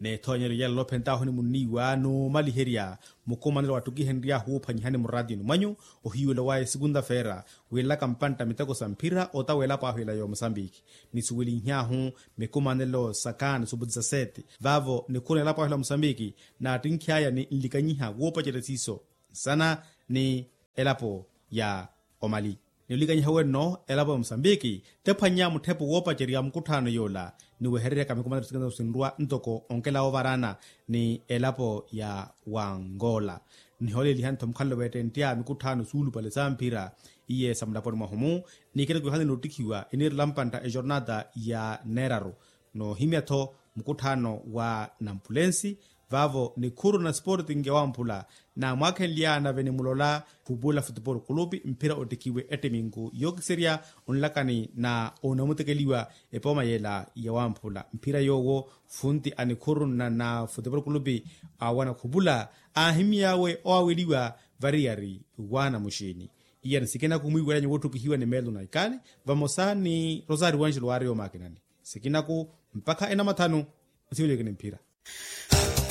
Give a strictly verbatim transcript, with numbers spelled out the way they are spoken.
N'ethoonyeryo yela olophentt'ahu ni munniiwa n'umaliherya mukumanelo wattukihenry'ahu wuuphwanyihani muraatiyoni mwanyu, ohiiwelo waya esukunta-feera, wiilaka mpantta miteko sa mphira ota w'elapo ahu ela y'omusambiki. Nisuwelinhy'ahu mikumanelo sa kaani subuti sa seti vaavo nikhuru n'elapo ahu ela musambiki, naattinkh'aya ni nlikanyiha wuupacerya siiso nsana ni elapo ya omali. Ni olikanyiha wenno elapo ya musambiki tephwannya mutthepo woopacerya mukutthaano yoola, ni wehereryaka mikumanelo sikana sinrwa ntoko onkela woovarana ni elapo ya wangola. Nihooleliha ntho mukhalelo wettenttya mikutthaano suulupale sa mphira iye sa mulaponi mwahu-mu, ni ikina kuyohani n'uttikhiwa iniirela mpantta ejornata ya neeraru. Noohimya-tho mukutthaano wa nampulensi vaavo nikhuru na sporting ya wamphula, naamwaakhenlya nave nimulola khupula futupolo kulupi mphira ottikhiwe ettiminku yookiserya onlakani na onamutekeliwa epooma yela ya wamphula mphira yoowo funti a nikhuru na na futupolo kulupi awana khupula aahimy'awe owaweliwa variyari wa namuxini. Iyani sikina kumwiiwelanya woottukihiwa ni meelo na ikani vamosa ni rosario wanxelo waari yoomakinani sikinaku mpakha enamathanu. Nsiweleke ni mphira.